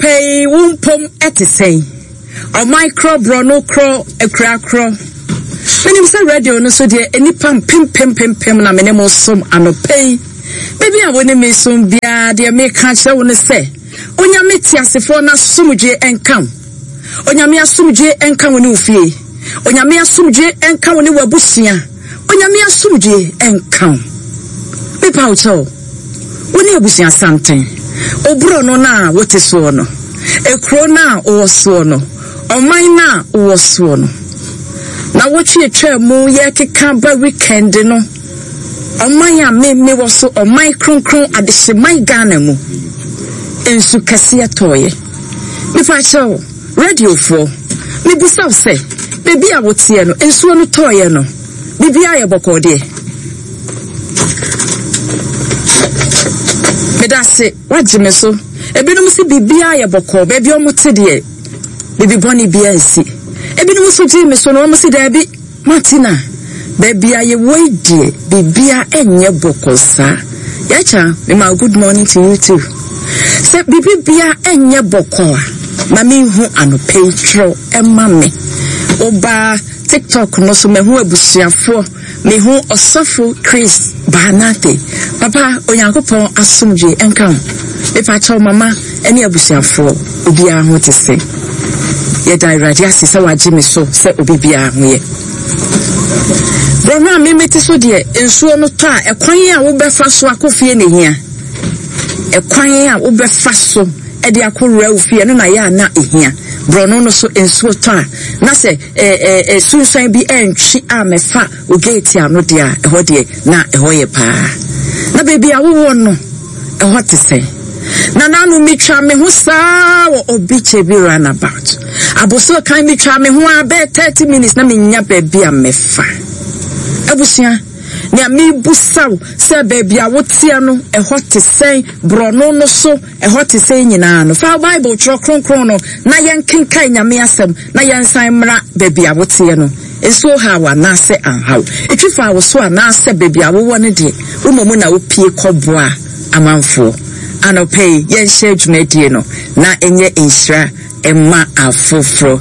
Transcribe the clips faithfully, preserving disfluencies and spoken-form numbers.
Pɛi wo mpom ɛte sɛn? Ɔman korɔ, borɔno korɔ, akura korɔ. Menim sɛ radio no so deɛ, nnipa mpempempempem na mene mo som anɔpa yi. Baabi a wo ne me som biara deɛ, meka kyerɛ wo no sɛ Onyame teasefoɔ no asomdwe nka wo. Onyame asomdwe nka wo ne wo fie. Onyame asomdwe nka wo ne w'abusua. Onyame asomdwe nka wo. Mepa wo kyɛw, wo ne abusua santen, oborɔ no na wote soɔ no, ekuro no a wowɔ soɔ no, ɔman no a wowɔ soɔ no, na wotwe atwa mu yɛkeka ba weekend no, ɔman a me mewɔ so, ɔman kronkron adehyeman Ghana mu, nsu kɛseɛ tɔɔyɛ. Mepa kyɛw, radiofoɔ, mebusa wo sɛ beebi a woteɛ no, nsuo no tɔɔyɛ no, biribiara yɛ bɔkɔɔ deɛ? Meda ase, wagye me so. Ebinom si biribiara yɛ bɔkɔɔ baabi a wɔn te deɛ, biribi bɔne biara nsi. Ebinom nso gye me so na wɔn si daabi, Martina, baabi a yɛwɔ yi deɛ, biribiara ɛnyɛ bɔkɔɔ saa. Yɛakya mema, good morning to you too. Sɛ biribi biara ɛnyɛ bɔkɔɔ a, ma menhu anɔpa yi, twerɛ ɛma me. Wobaa TikTok no so, mahu abusuafoɔ, mehu Ɔsɔfo Chris Baanate. Papa, Onyankopɔn asomdwe nka ho. Mepakyɛw, mama ne abusuafoɔ, obiara ho te sɛ? Yɛda Awurade ase sɛ wagye me so sɛ obi biara ho yɛ. Borɔno a memete so deɛ, nsuo no tɔ a, ɛkwan a wobɛfa so akɔ fie na ehia. Ɛkwan a wobɛfa so ɛde akɔwura wo fie no na yɛ a na ehia. Borɔno no so nsuo tɔ a, na sɛ ɛɛ ɛɛ sunsuan bi ɛntwi a mɛfa wo gate ano deɛ a, ɛhɔ deɛ na ɛhɔ yɛ paa. Na baabi a wowɔ no, ɛhɔ te sɛ? Na nanu metwa me ho saa wɔ Obi Kyebi roundabout aboso kan, metwa me ho a bɛyɛ thirty minutes na menya baabi a mɛfa. Abusua, nea mebusaw sɛ baabi a woteɛ no, ɛhɔ te sɛn? Borɔno no so ɛhɔ te sɛn nyinaa no, fa Bible Twerɛ Kronkron no na yɛnkenkae Nyame asɛm na yɛnsan mmra. Baabi a woteɛ no, nsuo haw anaasɛ anhaw? Ɛtwi fa wo so anaasɛ baabi a wowɔ no deɛ, womɔ mu na wopie kɔboa amanfoɔ? Anɔpɛ yi yɛnhyɛ dwumadie no na ɛnyɛ nhyira ɛma afoforɔ.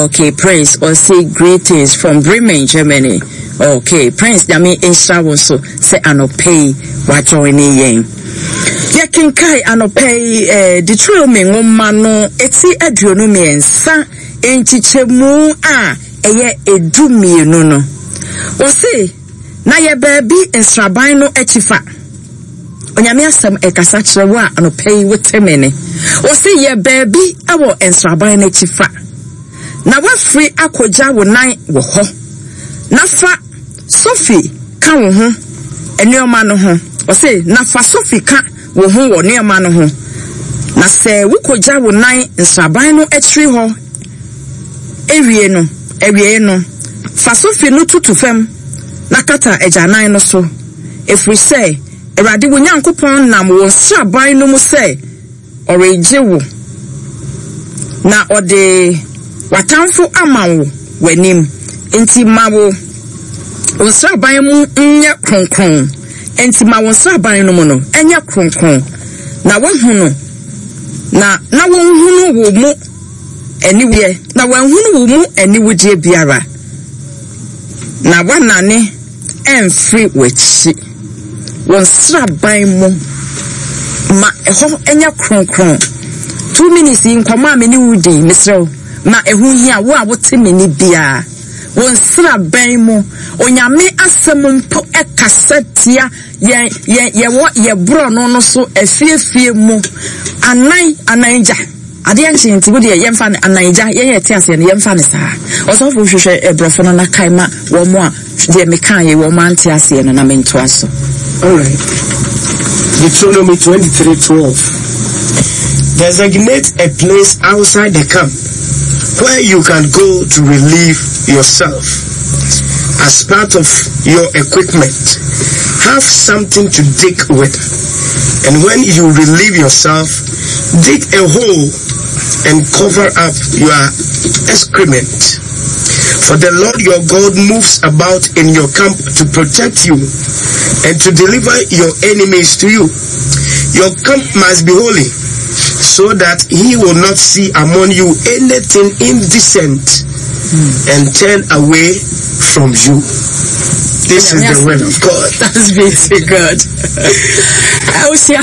Okay, Prince ɔse greetings from Bremen, Germany. Okay, Prince, Nyame nhyira wo nso sɛ anɔpɛ yi wajoin ne yɛn. Yɛkenkae anɔpɛ yi eh, Deuteronomy nwoma no eti aduonu mmiɛnsa nkyekyɛmu a ɛyɛ edu mmienu no, wɔse na yɛ baabi nsraban no akyi fa. Onyame asɛm ɛkasa kyerɛ wo a anɔpɛ yi wote me ne. Wɔse yɛ baabi wɔ nsraban no akyi fa na woafiri akɔgya wo nan wɔ hɔ, na fa sofi ka wo ho nneɛma no ho. Ɔse na fa sofi ka wo ho wɔ nneɛma no ho, na sɛ wokɔgya wo nan nsraban no akyiri hɔ ewie no, awie no, fa sofi no tutu fam na kata agyanan no so, ɛfiri sɛ Awurade wo Nyankopɔn nam wo nsraban no mu sɛ ɔregye wo na ɔde w'atamfo ama wo w'anim. Nti ma wo wo nsraban mu nyɛ kronkron. Nti ma wo nsraban no mu no ɛnyɛ kronkron na woahunu na na wɔnhunu wo mu aniwudeɛ, na wɔanhunu wo mu aniwudeɛ biara na woanane ɛmfiri w'akyi. Wɔ nsraban mu, ma ɛhɔ nyɛ kronkron. Two minutes yi, nkɔmɔ a me ne wo di, mesrɛ wo, ma ɛho hia wo a wote me ni biara. Wɔ nsraban mu, Onyame asɛm mpo ɛkasa tia yɛn yɛn yɛwɔ yɛ borɔno no so afiefie mu anan anan gya adeɛ nkye. Nti wo deɛ, yɛmfa no anan gya, yɛn yɛ te aseɛ no, yɛmfa no saa. Ɔsɔfo, hwehwɛ ɛborɔfo no na kae ma wɔn a deɛ meka yɛ wɔn ante aseɛ no na mentoa so. All right. Deuteronomy twenty-three twelve. Designate a place outside the camp where you can go to relieve yourself. As part of your equipment, have something to dig with. And when you relieve yourself, dig a hole and cover up your excrement. For the Lord your God moves about in your camp to protect you and to deliver your enemies to you. Your camp must be holy, So that he will not see among you anything indecent and turn away from you. This is the word of God. Thanks be to God. Awusia.